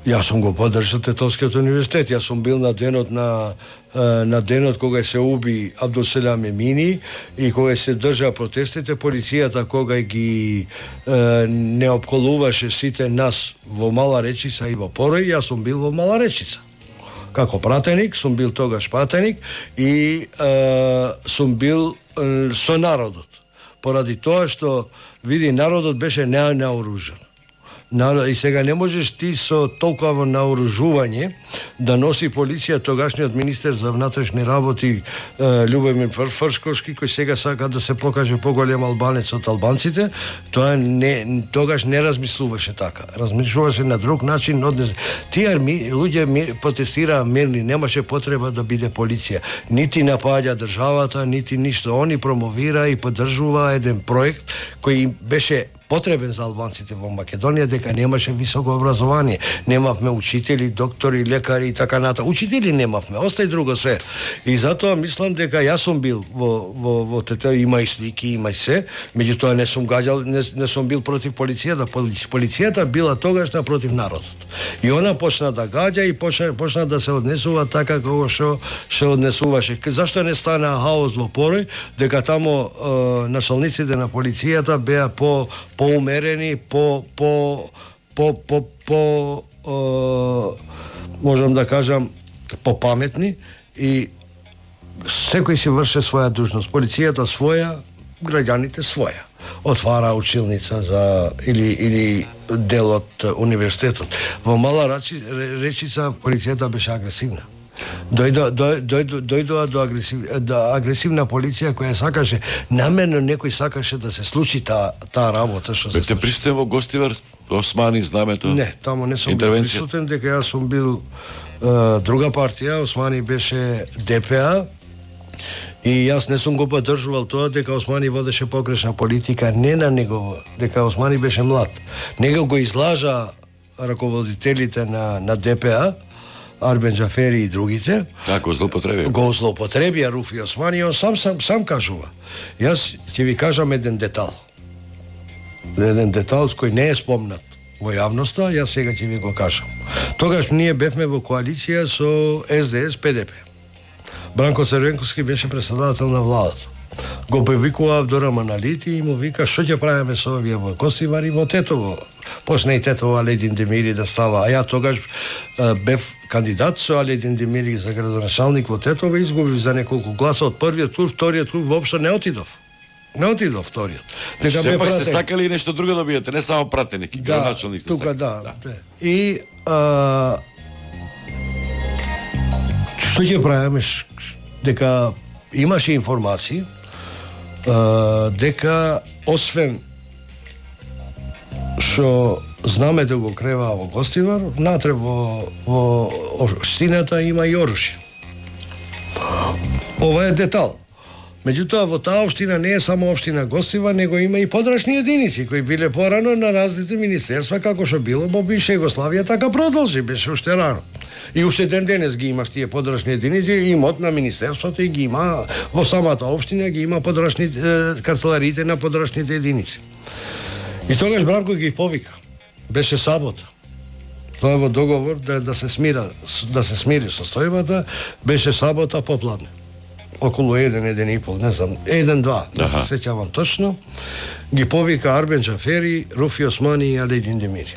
Јас сум го поддржал Тетовскиот универзитет. Јас сум бил на денот на на денот кога се уби Абдулселам Емини и кога се држа протестите, полицијата кога ги е, не опколуваше сите нас во Мала Речица и во Порој, јас сум бил во Мала Речица. Како пратеник, сум бил тогаш пратеник и е, сум бил е, со народот. Поради тоа што, види, народот беше ненаоружен. И сега не можеш ти со толкова наоружување да носи полиција тогашниот министер за внатрешни работи Љубомир Фршковски, кој сега сака да се покаже поголем албанец од албанците. Тоа не, тогаш не размислуваше така. Размислуваше на друг начин. Однес... Тие арми, луѓе протестираа мирни, немаше потреба да биде полиција. Нити напаѓа државата, нити ништо. Они промовира и поддржува еден проект кој беше потребен за албанците во Македонија, дека немаше високо образование. Немавме учители, доктори, лекари и така ната. Учители немавме, остај друго све. И затоа мислам дека јас сум бил во во во тете, има и слики, има и се, меѓутоа не сум гаѓал, не, не сум бил против полицијата. Полицијата била тогашна против народот. И она почна да гаѓа и почна, почна да се однесува така како што се однесуваше. Зашто не стана хаос во Порој, дека таму е, началниците на полицијата беа по поумерени, по по по по по е, можам да кажам попаметни и секој си врше своја дужност. Полицијата своја, граѓаните своја. Отвара училница за или или дел од универзитетот. Во Мала Речица полицијата беше агресивна. Дојдоа дојдоа дојдоа до агресив, до агресивна полиција која сакаше, намерно некој сакаше да се случи таа таа работа што се случи. Бете присутен во Гостивар, Османи, знамето? Не, таму не сум бил присутен, дека јас сум бил е, друга партија, Османи беше Де Пе А. И јас не сум го поддржувал тоа дека Османи водеше погрешна политика, не на него, дека Османи беше млад. Него го излажа раководителите на на Де Пе А, Арбен Џафери и другите. Така, го злоупотребија. Го злоупотребија Руфи Османи, он сам, сам, сам кажува. Јас ќе ви кажам еден детал. Еден детал кој не е спомнат во јавноста, јас сега ќе ви го кажам. Тогаш ние бевме во коалиција со Ес Де Ес Пе Де Пе. Бранко Црвенковски беше председател на владата. Го повикува Дора Маналити и му вика што ќе правиме со овие во Гостивар и во Тетово. Почна и Тетово Аледин Демири да става, а ја тогаш е, бев кандидат со Аледин Демири за градоначалник во Тетово и изгубив за неколку гласа од првиот тур, вториот тур воопшто не отидов. Не отидов вториот. Дека сепак сте сакали нешто друго да биете, не само пратеник, да, градоначалник сте тука, да, да. да. И а, што ќе правиме, дека имаше информации а, дека освен што знамето го креваа во Гостивар, натре во, во општината има и оружје. Ова е детал. Меѓутоа, во таа општина не е само општина Гостива, него има и подрачни единици кои биле порано на различни министерства, како што било во бивша Југославија, така продолжи, беше уште рано. И уште ден денес ги имаш тие подрачни единици, имот на министерството и ги има во самата општина, ги има подрачни е, канцелариите на подрачните единици. И тогаш Бранко ги повика. Беше сабота. Тоа во договор да, да се смира, да се смири состојбата, беше сабота попладне. Околу еден, еден и пол, не знам, еден-два, да се сеќавам точно, ги повика Арбен Джафери, Руфи Османи и Алидин Демири.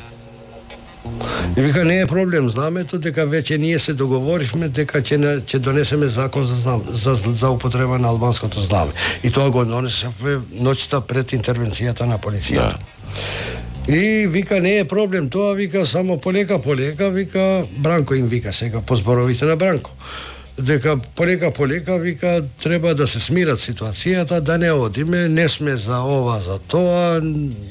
И вика, не е проблем, знамето, дека веќе ние се договоривме дека ќе ќе донесеме закон за, знам, за за употреба на албанското знаме. И тоа го донесевме ноќта пред интервенцијата на полицијата. Да. И вика, не е проблем тоа, вика, само полека, полека, вика, Бранко им вика сега по зборовите на Бранко. Дека полека, полека, вика, треба да се смират ситуацијата, да не одиме, не сме за ова, за тоа,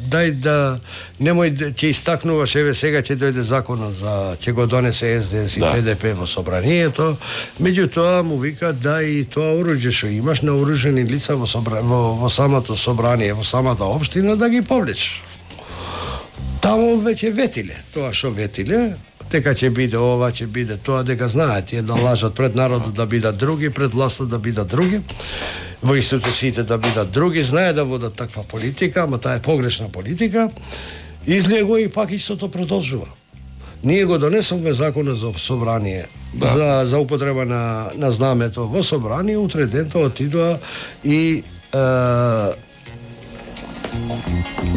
дај да, немој, ќе истакнуваш, еве сега ќе дојде законот за, ќе го донесе Ес Де Ес и Да. Пе Де Пе во собранието, меѓутоа му вика, да и тоа оруџје што имаш на оружени лица во, собра, во, во самото собрание, во самата општина, да ги повлечеш. Таму веќе ветиле, тоа што ветиле, дека ќе биде ова, ќе биде тоа, дека знаат тие да лажат пред народот да бидат други, пред власта да бидат други, во институциите да бидат други, знае да водат таква политика, ама таа е погрешна политика, излего и пак истото продолжува. Ние го донесовме законот за собрание, да. за, за употреба на, на знамето во собрание, утре дента отидоа и е,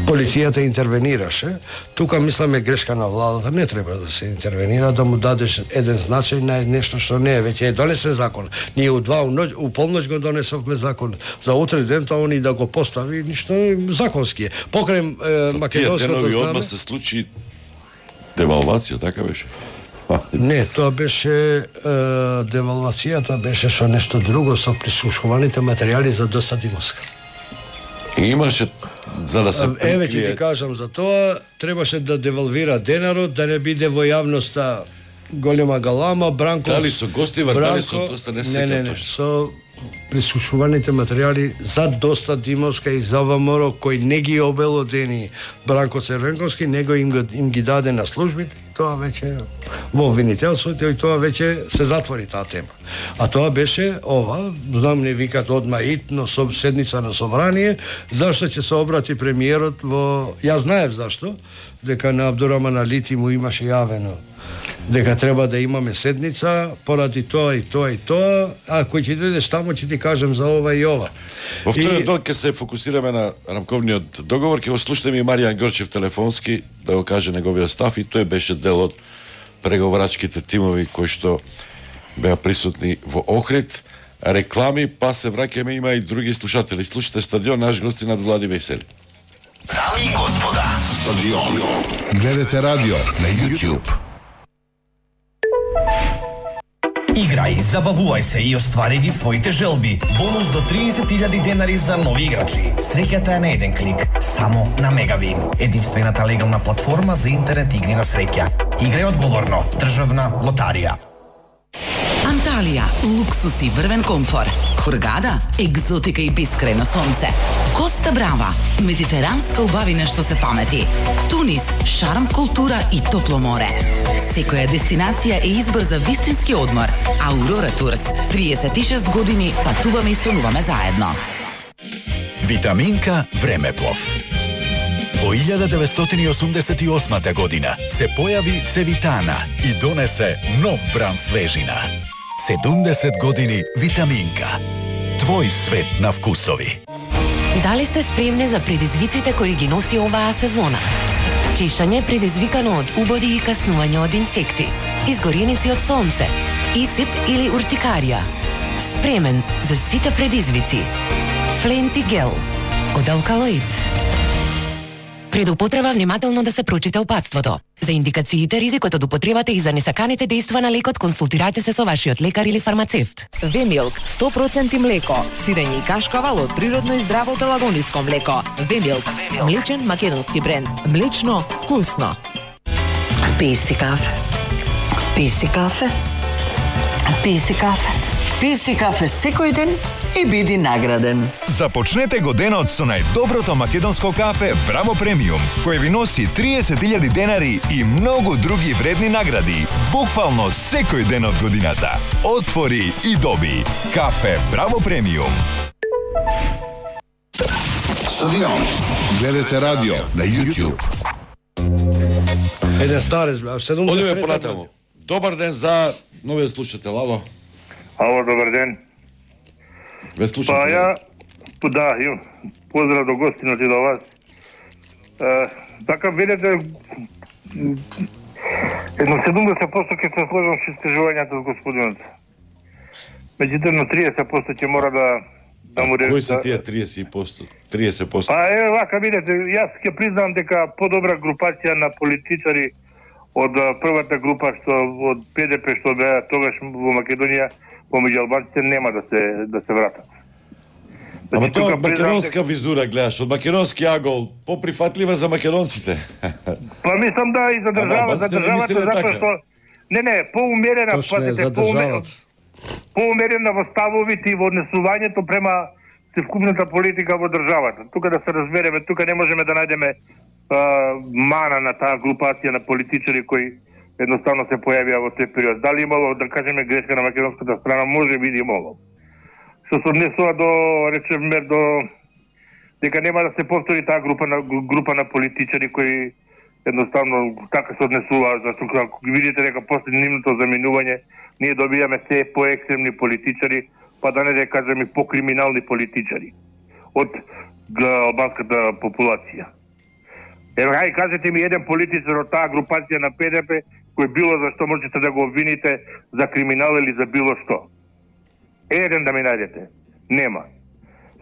полицијата интервенираше. Тука мисламе грешка на владата, не треба да се интервенира, да му дадеш еден значај на нешто што не е, веќе е донесен закон. Ние у два у, ноќ, у полноќ го донесовме закон. За утре ден тоа они да го постави, ништо законски е. Покрај е, македонското Тие денови знаме. одма се случи девалвација, така беше? Не, тоа беше е, девалвацијата беше со нешто друго, со прислушуваните материјали за Доста Димовска. И имаше за да се Еве ќе прикрие. ти кажам за тоа, требаше да девалвира денарот, да не биде во јавноста голема галама, Бранко. Дали со Гостива, дали со Бранко- Доста, не се Не, не, сеќам не, точно. со прислушуваните материјали за Доста Димовска и за ВМРО кој не ги обелодени Бранко Цервенковски, него им, го, им ги даде на службите, тоа веќе во обвинителството и тоа веќе се затвори таа тема. А тоа беше ова, знам не викат одма итно со седница на собрание, зашто ќе се обрати премиерот во, ја знаев зашто, дека на Абдураман Алити му имаше јавено дека треба да имаме седница поради тоа и тоа и тоа, а кој ќе дојдеш таму ќе ти кажем за ова и ова. Во вториот И- дел ќе се фокусираме на рамковниот договор, ќе го слушнеме и Маријан Грчев телефонски да го каже неговиот став, и тој беше дел од преговарачките тимови кои што беа присутни во Охрид. Реклами, па се враќаме, има и други слушатели. Слушате Стадион, наш гост на Влади Весели. Дами и господа, Стадион. Гледате радио на YouTube. Играј, забавувај се и оствари ги своите желби. Бонус до триесет илјади денари за нови играчи. Среќата е на еден клик, само на Мегавин. Единствената легална платформа за интернет игри на среќа. Играј одговорно. Државна лотарија. Анталија, луксус и врвен комфор. Хургада, екзотика и бескрајно сонце. Коста Брава, медитеранска убавина што се памети. Тунис, шарм, култура и топло море. Секоја дестинација е избор за вистински одмор. Аурора Турс, триесет и шест години патуваме и сонуваме заедно. Витаминка Времеплов. Во илјада деветстотини и осумдесет и осма година се појави Цевитана и донесе нов бран свежина. седумдесет години Витаминка. Твој свет на вкусови. Дали сте спремни за предизвиците кои ги носи оваа сезона? Чешање предизвикано од убоди и каснување од инсекти, изгореници од сонце, исип или уртикарија. Спремен за сите предизвици. Фленти гел од алкалоид. Пред употреба внимателно да се прочита упатството. За индикациите, ризикот од употребата и за несаканите дејства на лекот, консултирате се со вашиот лекар или фармацевт. Вемилк, сто проценти млеко, сирење и кашкавал од природно и здраво пелагониско млеко. Вемилк, млечен македонски бренд. Млечно, вкусно. Пи си кафе. Пи си кафе. Пи си кафе. Пи си кафе секој ден и биди награден. Започнете годинот со најдоброто македонско кафе Браво Премиум, кој ви носи триесет илјади денари и многу други вредни награди, буквално секој ден од годината. Отвори и доби. Кафе Браво Премиум. Стадион. Гледате радио на YouTube. Еден старец, седумдесет. Одиме понатаму. Добар ден за новиот слушател, ало. Ало, добар ден. Ве слушате? Па ја, да, им, поздрав до гостинот и до вас. Е, така, видите, едно седумдесет проценти ќе се сложам со искажувањата од господинот. Меѓутоа, на триесет проценти ќе мора да да му рече. Кои се тие триесет проценти? триесет проценти? Па е, вака, видите, јас ќе признам дека подобра групација на политичари од првата група што од Пе Де Пе што беа тогаш во Македонија помеѓу албанците нема да се да се вратат. Ама тоа македонска визура гледаш, од македонски агол, поприфатлива за македонците. Па мислам да и за држава, за државата затоа што не не, поумерена, пазите, поумерена. Поумерена во ставовите и во однесувањето према севкупната политика во државата. Тука да се разбереме, тука не можеме да најдеме мана на таа групација на политичари кои едноставно се појавија во тој период. Дали имало, да кажеме, грешка на македонската страна, може би имало. Што се однесува до, речеме, до дека нема да се повтори таа група на група на политичари кои едноставно така се однесува, зашто ако видите дека после нивното заминување ние добиваме се поекстремни политичари, па да не да кажеме покриминални политичари од албанската популација. Ева, хај, кажете ми еден политичар од таа групација на Пе Де Пе кој било зашто можете да го обвините за криминал или за било што. Еден да ми најдете. Нема.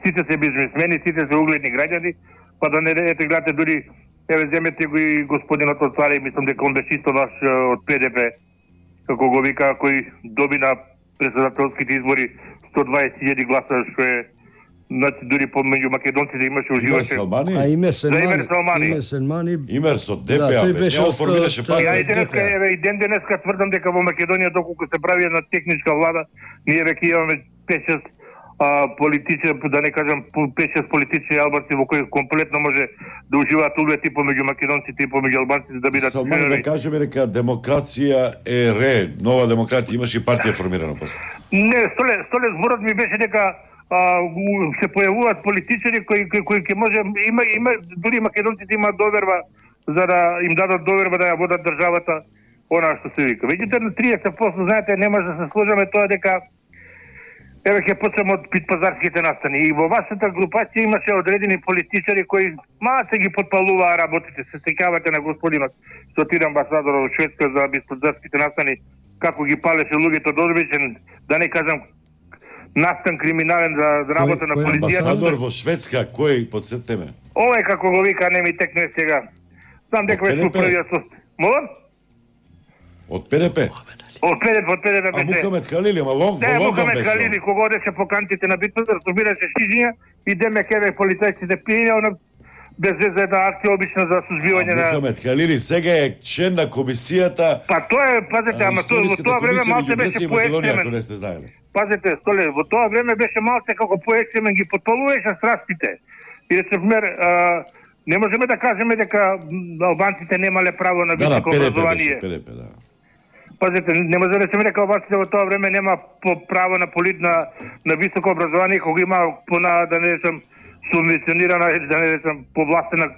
Сите се бизнесмени, сите се угледни граѓани, па да не ете гледате дури, еве земете го и господинот од Царе, мислам дека он беше исто ваш од Пе Де Пе, како го вика, кој доби на председателските избори сто дваесет илјади гласа, што е значи дури помеѓу македонците имаше уживаше. А Имер Селмани. Имер Селмани. Имер со Де Пе, а бе, ја формираше партија. Ја и денеска, еве, и ден денеска тврдам дека во Македонија, доколку се прави една техничка влада, ние веќе имаме пет-шест политичи, да не кажам пет-шест политичи албанци во кои комплетно може да уживаат углед и помеѓу македонците и помеѓу албанците да бидат. Селмани да кажеме дека демокрација е ре, нова демократија, имаше и партија формирана после. Не, столе, столе зборот ми беше дека а, се појавуваат политичари кои кои кои ќе може има има дури македонците имаат доверба за да им дадат доверба да ја водат државата, она што се вика. Меѓутоа на триесет проценти знаете не може да се сложиме тоа дека еве ќе почнеме од питпазарските настани. И во вашата групација имаше одредени политичари кои малку се ги потпалуваа работите. Се сеќавате на господинот што отиде амбасадор во Шведска за питпазарските настани, како ги палеше луѓето додобичен, да не кажам настан криминален за работа на полицијата. Амбасадор во Шведска, кој подсетеме? Овој како го вика, не ми текне сега. Знам дека беше првиот со... Молам? Од Пе Де Пе? Од Пе Де Пе, од Пе Де Пе беше. А Мухамед Халили, ама лон, не, во Лондон Мухамед беше. Халили, кога одеше по кантите на битвата, собираше шижиња и деме кеве полицајците пиења, она без веза една акција обична за сузбивање на... Мухамед Халили сега е член на комисијата... Па тоа е, пазете, ама тоа, во тоа време малце беше поекстремен. Пазете, Столе, во тоа време беше малце како поекстремен, ги потпалуваше страстите. И речемер, не можеме да кажеме дека албанците немале право на високо образование. Да, да, да. Пазете, не може да речеме дека албанците во тоа време нема право на полит на, на високо образование, кога има пона, да не речем, субвенционирана, да не речем, повластена,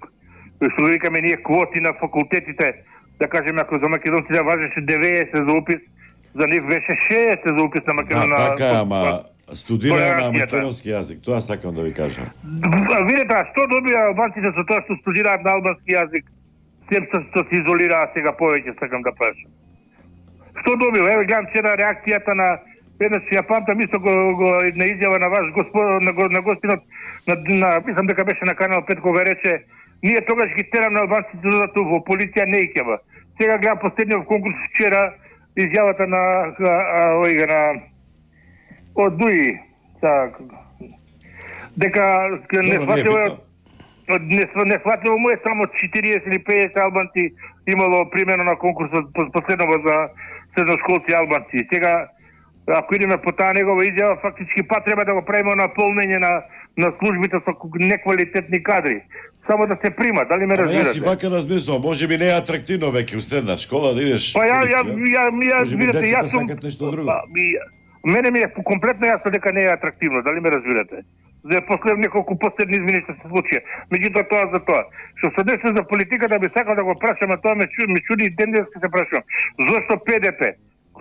што да викаме ние, квоти на факултетите, да кажеме, ако за македонците важеше деветдесет за упис, за нив беше шеесет за упис на македонски. Да, така, ама студира на македонски јазик, тоа сакам да ви кажам. Видете, а што добија албанците со тоа што студираат на албански јазик, сем што се изолираа сега повеќе, сакам да прашам. Што добил? Еве гледам вчера реакцијата на еднаш ја памтам исто го, го на изјава на ваш господ на, на гостинот на, на мислам дека беше на канал пет кога рече ние тогаш ги терам на албанците да додат во полиција не икева. Сега гледам последниот конкурс вчера изјавата на оига на од Дуи дека не сватило не не сватило му е само четириесет или петдесет албанци имало примено на конкурсот последново за средношколци албанци. Сега ако идеме по таа негова изјава, фактички пат треба да го правиме наполнење на на службите со неквалитетни кадри. Само да се прима, дали ме разбирате? Јас си вака размислувам, може би не е атрактивно веќе у средна школа да идеш. Па ја ја ја ја видите, јас сум нешто друго. Мене ми е комплетно јасно дека не е атрактивно, дали ме разбирате? За последни неколку последни измени што се случија. Меѓутоа тоа за тоа. Што се деси за политиката, би сакал да го прашам, а тоа ме чуди, ме чуди и ден денеска се прашам. Зошто П Д П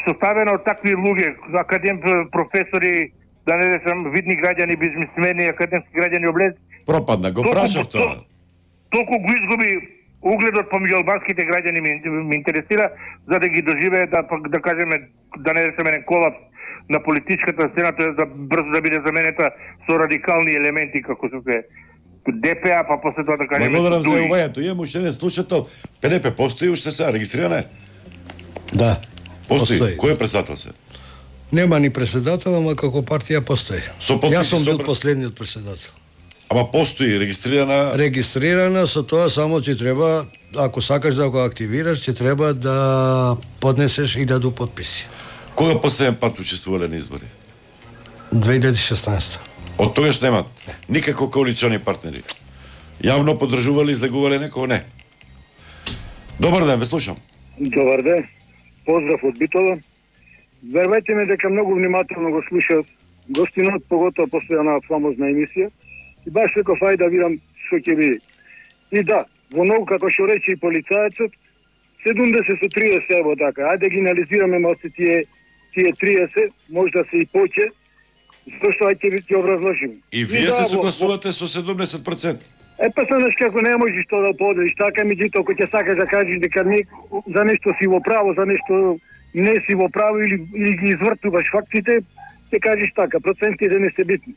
составено од такви луѓе, академ професори, да не речам видни граѓани, бизнисмени, академски граѓани облез. Пропадна, го прашав тоа. Толку го изгуби угледот помеѓу албанските граѓани ми, ми интересира, за да ги доживее, да, да кажеме, да не речеме еден колапс на политичката сцена, тоа да брзо да биде заменета со радикални елементи како се Д П А, па после тоа да кажеме. Благодарам за увањето. Имам уште еден слушател. П Д П постои уште сега, регистрирана е? Да. Постои. постои. Кој е председател се? Нема ни председател, ама како партија постои. Јас сум бил последниот председател. Ама постои регистрирана? Регистрирана, со тоа само ќе треба, ако сакаш да го активираш, ќе треба да поднесеш илјаду потписи. Кога последен пат учествувале на избори? две илјади и шеснаесета. Од тогаш немат никако коалициони партнери. Јавно поддржувале, излегувале некој? Не. Добар ден, ве слушам. Добар ден. Поздрав од Битола. Вервајте ме дека многу внимателно го слушав гостинот, поготово после една фамозна емисија. И баш реков, ајде да видам што ќе биде. И да, во многу, како што рече и полицајецот, седумдесет со триесет ево така. Ајде ги анализираме малце тие тие триесет, може да се и поче. Зошто ајде ќе образложим. И вие и се да, согласувате во... со седумдесет проценти? Е, па знаеш како не можеш тоа да поделиш така, меѓутоа ако ќе сакаш да кажеш дека не, за нешто си во право, за нешто не си во право или, или ги извртуваш фактите, ќе кажеш така, процентите не се битни.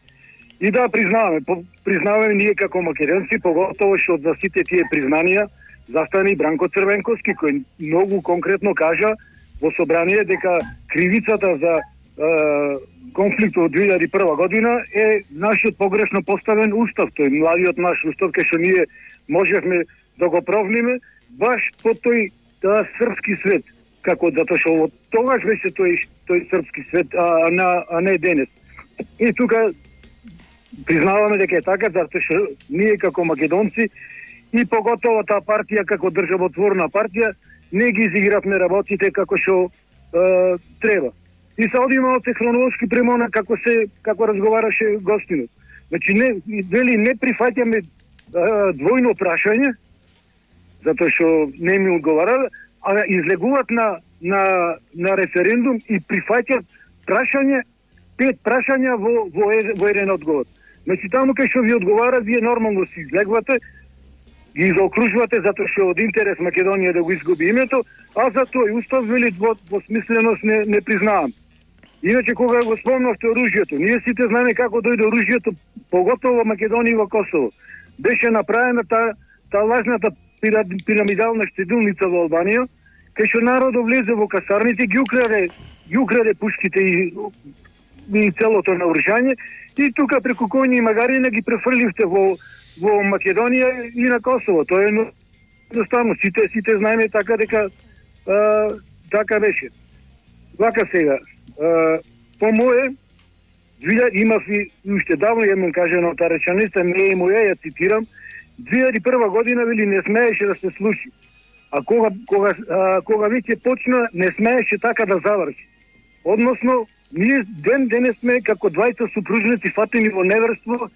И да, признаваме, признаваме ние како македонци, поготово што за сите тие признанија застане и Бранко Црвенковски, кој многу конкретно кажа во собрание дека кривицата за е, конфликтот од две илјади и прва година е нашиот погрешно поставен устав, тој младиот наш устав, кај што ние можевме да го провниме баш по тој да, српски свет, како затоа што тогаш беше тој тој српски свет, а, а, а не денес. И тука признаваме дека е така, затоа што ние како македонци и поготово таа партија како државотворна партија не ги изигравме работите како што е, треба. И се одиме од хронолошки премона како се како разговараше гостинот. Значи не дели не прифаќаме двојно прашање затоа што не ми одговарале, а излегуваат на на на референдум и прифаќаат прашање, пет прашања во во, во еден одговор. Значи таму кај што ви одговара, вие нормално си излегвате, ги заокружувате затоа што од интерес Македонија да го изгуби името, а за тој устав вели во, во смисленост не, не признавам. Иначе кога го спомнавте оружјето, ние сите знаеме како дојде оружјето, поготово во Македонија и во Косово. Беше направена таа та лажната пирамидална штедилница во Албанија, кај што народот влезе во касарните, ги украде, ги украде пушките и, и целото наоружјање, и тука преку коњи и магарина ги префрливте во во Македонија и на Косово. Тоа е едноставно, сите сите знаеме така дека а, така беше. Вака сега, а, по мое имав и уште давно јам кажано таа реченица, не е моја, ја цитирам, две илјади и прва година вели не смееше да се случи. А кога кога а, кога веќе почна, не смееше така да заврши. Односно, ние ден денес сме како двајца супружници фатени во неверство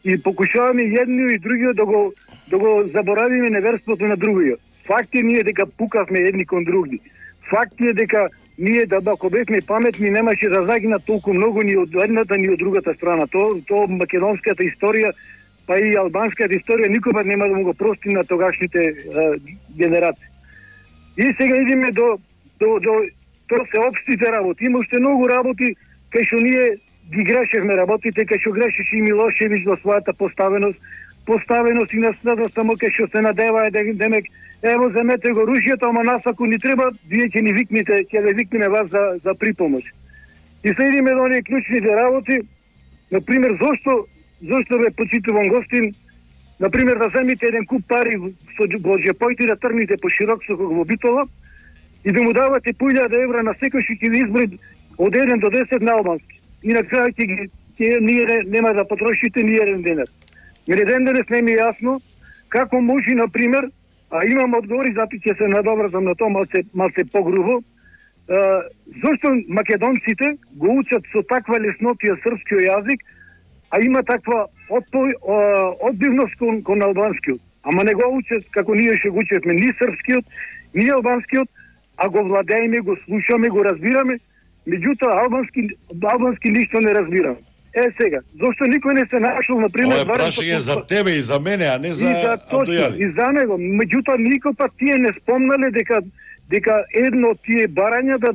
и покушаваме едниот и другиот да го да го заборавиме неверството на другиот. Факт е ние дека пукавме едни кон други. Факт е дека ние да ако бевме паметни немаше да загина толку многу ни од едната ни од другата страна. То то македонската историја па и албанската историја никога нема да му го прости на тогашните е, генерации. И сега идеме до до до тоа се општите работи. Има уште многу работи кај што ние ги грешевме работите, кај што грешеше и Милошевиќ во својата поставеност, поставеност и наследност, само кај што се надеваа демек, ево земете го оружјето, ама нас ако ни треба, вие ќе ни викнете, ќе ве викнеме вас за за припомош. И се идеме до оние клучните работи, на пример зошто зошто ве почитувам гостин, на пример да земите еден куп пари со во џепоите да тргнете по широк со во Битола и да му давате по илјада евра на секој што ќе ви изброи од еден до десет на албански. И на крај ќе ги ќе ние нема да потрошите ни еден денар. Мене ден денес не ми е јасно како може, на пример, а имам одговори, зато ќе се надобрзам на тоа малце малце погрубо. Uh, зошто македонците го учат со таква леснотија српскиот јазик, а има таква отпој, uh, одбивност кон, кон албанскиот. Ама не го учат како ние ще го учевме ни српскиот, ни албанскиот, а го владееме, го слушаме, го разбираме, меѓутоа албански, албански ништо не разбираме. Е сега, зошто никој не се нашол, например... Ова е прашање за тебе и за мене, а не за, и за Абдојали. И за него. Меѓутоа, никој пат тие не спомнале дека дека едно од тие барања да